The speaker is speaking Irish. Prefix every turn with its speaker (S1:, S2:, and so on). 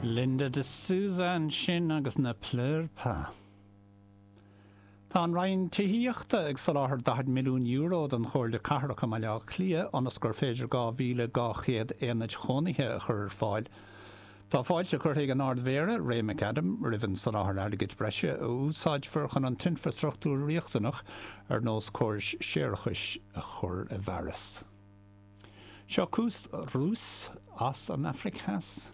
S1: Linda de Souza ansin agus Ne Pleure Pas. Tá an Roinn Tithíochta ag soláthar €40 milliún don Chomhairle Cathrach i mBaile Átha Cliath ionas gur féidir 2,200 aonaid chónaithe a chur ar fáil. Tá fáilte curtha ag an Ard-Mhéara, Ray McAdam, roimh an soláthar airgid breise a úsáidfear chun an t-infreastruchtúr riachtanach ar nós córais séarachais a chur i bhfearas. Seo Koos Roos as an Afraic Theas.